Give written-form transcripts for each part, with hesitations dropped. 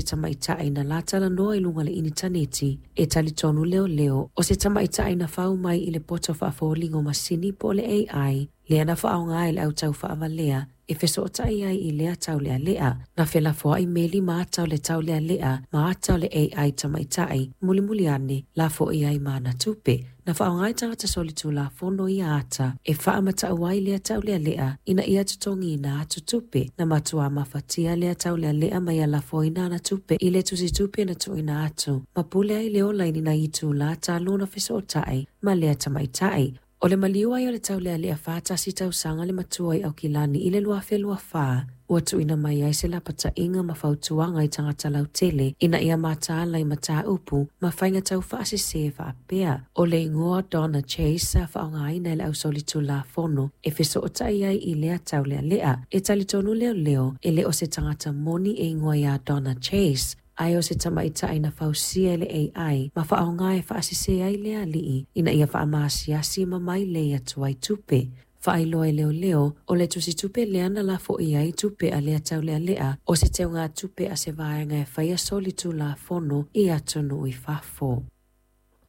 tamaitai na latalanoa i luga o le initaneti. E talitonu leoleo, o se tamaitai na fau mai i le poto faafoliga o masini po o le AI, lea na faaaoga e le au taufaavalea e fesootai ai i lea taulealea. Na felafoai meli ma ata o le taulealea ma ata o le AI tamaitai, mulimuli ane lafoai ai ma ana tupe. Na faaaoga e tagata solitulafono ia ata e faamatau ai lea taulealea ina ia totogiina atu tupe. Na matuā mafatia lea taulealea ma ia lafoina ana tupe i le tusitupe na tuuina atu, ma pule ai le ola i ni nai itulā talu ona fesootai ma lea tamaitai. O le maliu ai o le taulealea 41 tausaga le matua i Aukilani i le 2024, ua tuuina mai ai se lapataiga ma fautuaga i tagata lautele ina ia mataala i mataupu ma faiga taufaasese faapea. O le igoa Donna Chase sa faaaogaina e le ausolitulafono e fesootai ai i lea taulealea. E talitonu leoleo e le o se tagata moni e igoa ia Donna Chase, ae o se tamaitai na fausia e le AI ma faaaoga e faasese ai le alii ina ia faamaasiasi ma mailei atu ai tupe. Faailoa e leoleo, o le tusitupe lea na lafoai ai tupe a lea taulealea o se teugatupe a se vaega e faia solitulafono i atunuu i fafo.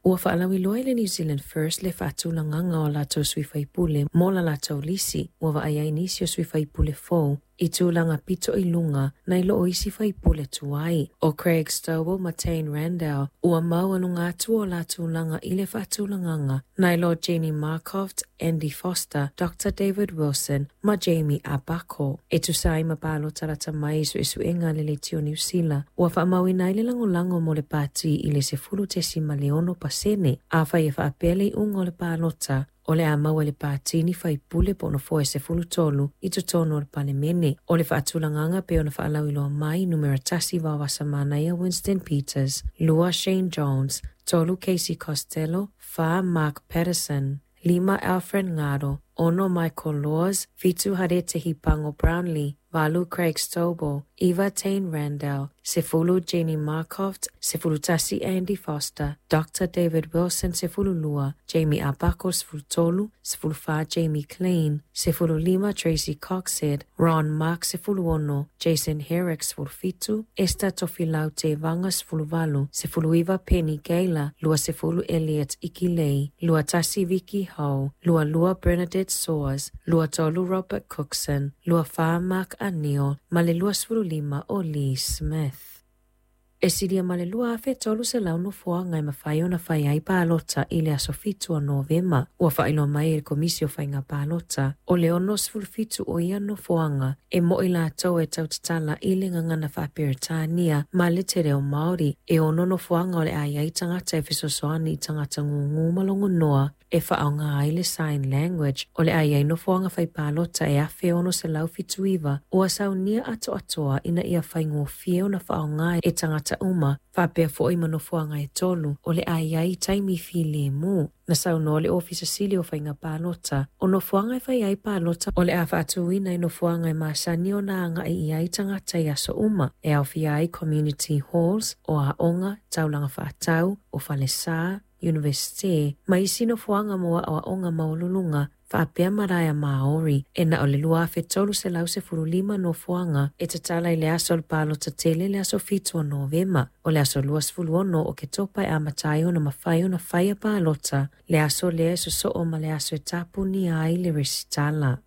Ua faalauiloa e le New Zealand First le faatulagaga o latou sui faipule mo la latou lisi. Ua vaai ai nisi o sui faipule fou i tulaga pito i luga nai lo isi faipule tuai. O Craig Stowell ma Tane Randall ua maualuga atu o la tulaga i le faatulagaga nai lo Jenny Marcoft, Andy Foster, Dr. David Wilson ma Jamie Abako. E tusa ai ma palota lata mai i suesuega a le Leitio Niu Sila, ua faamauina ai le lagolago mo le pati i le 10.6%. Afai e faapea le iuga o le palota, o le a maua e le pati ni faipule po o nofoa e 13 i totonu o le Palemene. O le faatulagaga pei ona faalauiloa mai: numera 1 Vaovasamanaia Winston Peters, 2 Shane Jones, 3 Casey Costello, 4 Mark Patterson, 5 Alfred Ngaro, 6 Michael Laws, 7 Harete Hipango Brownlee, 8 Craig Stobel, 9 Tane Randall, 10 Jenny Marcoft, 11 Andy Foster, Dr. David Wilson 12, Jamie Arbuckle 13, 14 Jamie Clean, 15 Tracy Coxhead, Ron Mark 16, Jason Herrick 17, Esther Tofilau Tevaga 18, 19 Penny Gayler, 20 Elliot Ikilei, 21 Vicky Ho, 22 Bernadette Soares, 23 Robert Cookson, 24 Mark Anil, ma le 25 o Lee Smith. E silia ma le 2,300 nofoaga e mafai ona fai ai palota i le aso 7 o Novema. Ua faailoa mai e le Komisi o Faiga Palota, o le 67 o ia nofoaga e mo i latou e tautatala i le gagana faa-Peretania ma le te reo Māori. E 6 nofoaga o le a i ai tagata e fesoasoani i tagata gugū ma logonoa e faaaoga ai le sign language. O le a i ai nofoaga fai palota e 1,679 ua saunia atoatoa ina ia faigofie ona faaaoga e tagata uma, faapea foi ma nofoaga e 3 o le a i ai taimi filemu. Na saunoa le Ofisa Sili o Faiga Palota, o nofoaga e fai ai palota o le a faatuina i nofoaga e masani ona agai i ai tagata i aso uma, e aofia ai community halls, o aoga, taulaga faatau, o falesa, Universite, ma isi nofoaga mo aoaoga maualuluga, faapea malae a Māori. E na o le 2,315 nofoaga e tatala i le aso o le palota tele le aso 7 o Novema. O le aso 26 o Oketopa e amata ai ona mafai ona faia palota, le aso lea e sosoo ma le aso e tapunia ai le resitala.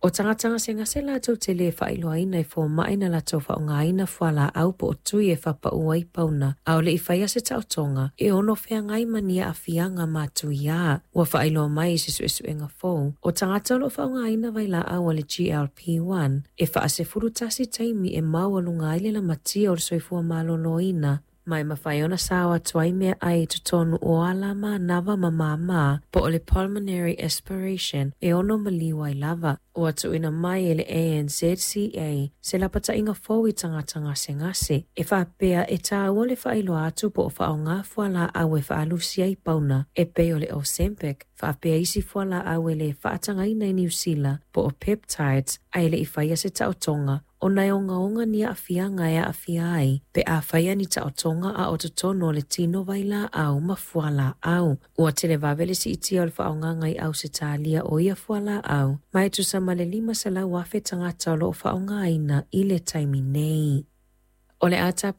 O tagata gasegase latou te le faailoaina e fomai na latou faaaogaina fualaau po o tui e faapau ai pauna a o le i faia se taotoga, e ono feagai ma ni aafiaga matuiā. Ua faailoa mai i se suesuega fou, o tagata o lo o faaaogaina vailaau a le GLP-1 e faa-11 taimi e maualuga ai le lamatia o le soifua maloloina, ma e mafai ona sao atu ai meaai i totonu o ala manava ma māmā po o le pulmonary aspiration e ono maliu ai lava. Ua tuuina mai e le ANZCA se lapataiga fou i tagata gasegase e faapea e tāua le faailoa atu po o faaaoga fualaau e faalusi ai pauna e pei o le Ozempic, faapea isi fualaau e le faatagaina i Niu Sila po o peptides ae le i faia se taotoga, ona e ogaoga ni aafiaga e aafia ai pe a faia ni taotoga a o totonu o le tino vailaau ma fualaau. Ua televave le siitia o le faaaogaga i Ausetalia o ia fualaau, ma e tusa ma le 500,000 tagata o lo o faaaogaina i le taimi nei. O le a tapu